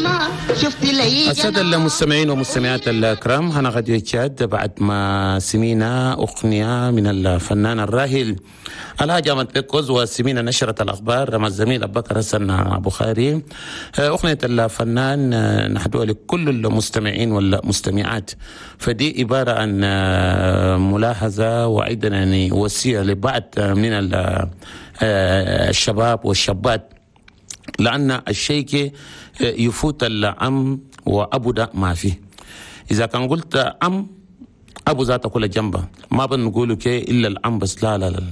ما شفت لي. السادة المستمعين والمستمعات الكرام، هنا راديو تشاد بعد ما سمينا أغنية من الفنان الراحل الحاج أحمد بيكوز، وسمينا نشرة الأخبار مع الزميل أبو بكر حسن بخاري. أغنية الفنان نهدوها لكل المستمعين والمستمعات، فدي عبارة عن ملاحظة وأيضا يعني وصية لبعض من الشباب والشابات، لأن الشيء يفوت الأم وأبو ده ما فيه. إذا كان قلت أم أبو ذاته كل جنبه، ما بنقول كي إلا الأم بس، لا لا لا،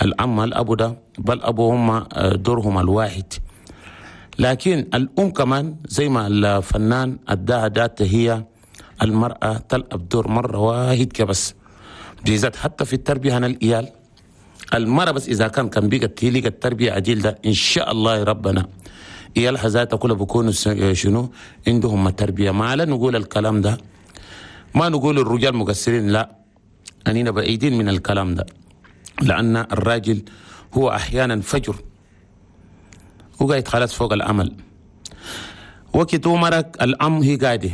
الأم الأبو ده بل أبو هم دورهم الواحد، لكن الأم كمان زي ما الفنان أداها ذات هي المرأة تلعب دور مرة واحد كبس بالذات حتى في التربية هنا الإيال المرأة بس إذا كان بيقت هي التربية عديل ده إن شاء الله ربنا إيال حزاتها كلها بيكونوا شنو عندهم التربية. ما لا نقول الكلام ده، ما نقول الرجال مقصرين، لا، أننا بعيدين من الكلام ده، لأن الراجل هو أحيانا فجر وقاعد خلاص فوق الأمل وقت مرك الأم هي قاعدة،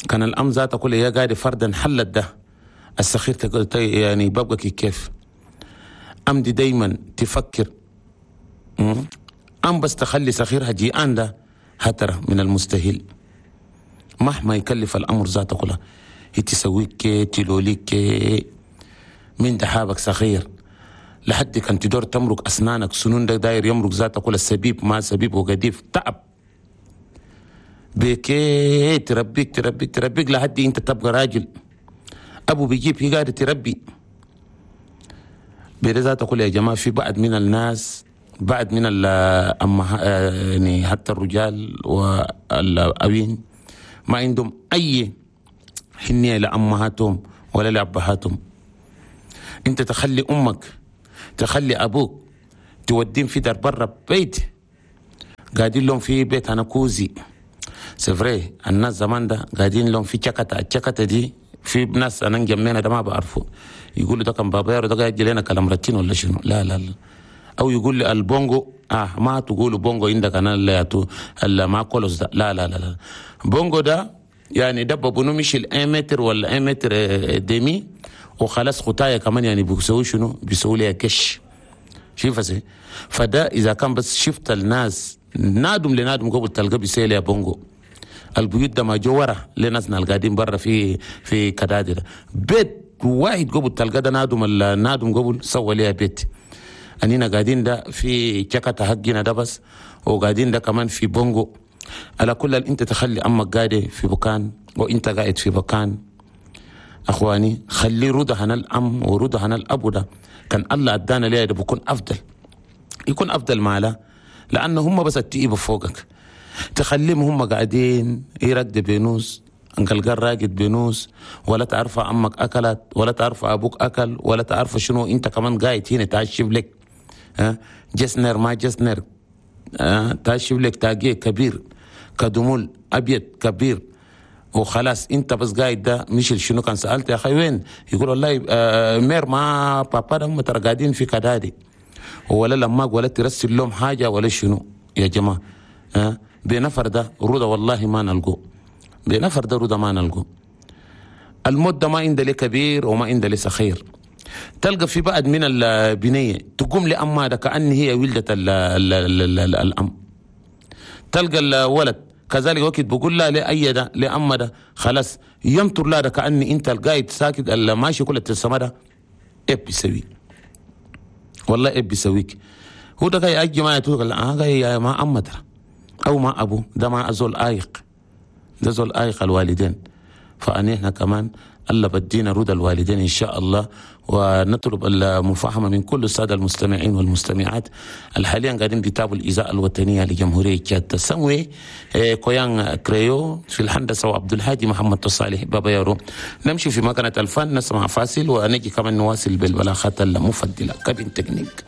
كان الأم ذاتها كلها هي قاعدة فردا حلت ده السخير تقول يعني ببقى كيف أم دي دايما تفكر أم بس تخلي سخيرها جيعان ده هترى من المستحيل مهما يكلف الأمر ذاته كلها هي تسويك تلوليك من دحابك سخير لحد كان تدور تمرق أسنانك سنون ده داير يمرق ذاته كلها السبيب ما سبيب وقديف تعب بكي تربيك تربيك تربيك لحد انت تبقى راجل. أبو بيجيب هي قاعدة تربي بذات أقول يا جماعة في بعض من الناس بعد من يعني حتى الرجال والأبين ما عندهم أي حنية لأمهاتهم ولا لأبهاتهم. أنت تخلي أمك تخلي أبوك تودين في دار برا بيت قاعدين لهم في بيت أنا كوزي سفري الناس زمان ده قاعدين لهم في شكتة، الشكتة دي في ناس أنا جمعنا ده ما بعرفه يقولوا ده كان بابا ده قاعد لنا كلام رتين ولا شنو، لا لا لا، أو يقول لي البونجو ما تقولوا بونجو عندك أنا اللي ما كولوس ده، لا لا لا لا، بونجو ده يعني ده ببنو مش 1 متر ولا 1 متر demi وخلاص خطايا كمان يعني بيسوي شنو بيسوي لي كش شوف زي فده إذا كان بس شفت الناس نادم لنادم قبل تلقى بيسوي لي بونجو. البيوت ده ما جوره لناسنا القاعدين برا في كدادر بيت واحد قبل تلقى ده نادم النادم قبل سوى لي بيت أنينا قاعدين ده في شكة حقنا ده بس وقاعدين ده كمان في بونجو. على كل أنت تخلي أمك قاعدة في بكان وأنت قاعد في بكان. أخواني خلي رضا هنا الأم ورضا هنا الأبو ده كان الله أدانا ليه ده بيكون أفضل، يكون أفضل ماله لأنه هم بس التئيب فوقك تخليهم هم قاعدين يرقد بينوس انقلقال راقد بينوس ولا تعرف أمك أكلت ولا تعرف أبوك أكل ولا تعرف شنو أنت كمان قاعد هنا تعشب لك ها جسنر ما جسنر تعشب لك تاجي كبير كدمول أبيض كبير وخلاص انت بس قاعد ده مش شنو. كان سألت يا اخي وين يقول والله mère ما بابا ده هم ترى قاعدين في كدادي ولا لما ولا ترسل لهم حاجة ولا شنو يا جماعة بنفر ده رضا والله ما نلقو بنفر ده رضا ما نلقو. المدة ما عند لي كبير وما عند لي صغير. تلقى في بعض من البنية تقوم لأمها ده كأن هي ولدت الأم. تلقى الولد كذلك وقت بقول لا لأي ده لأما ده خلاص ينطر لا ده كأني أنت القايد ساكت اللي ماشي كل التسمى ده إيه بيسوي والله إيه بيسويك هو ده جاي أجي ما يتوقع لا جاي ما أما ده أو ما أبو ده ما أزول آيق ده زول آيق الوالدين. فأني إحنا كمان الله بدينا رضا الوالدين إن شاء الله، ونطلب المفاهمة من كل السادة المستمعين والمستمعات الحاليا قاعدين بيتابعوا الإذاعة الوطنية لجمهورية تشاد تسوي كويان كريو في الهندسة وعبد الهادي محمد صالح بابا يارو. نمشي في مكنة الفن نسمع فاصل ونجي كمان نواصل بالبلاغات المفضلة كابين تكنيك.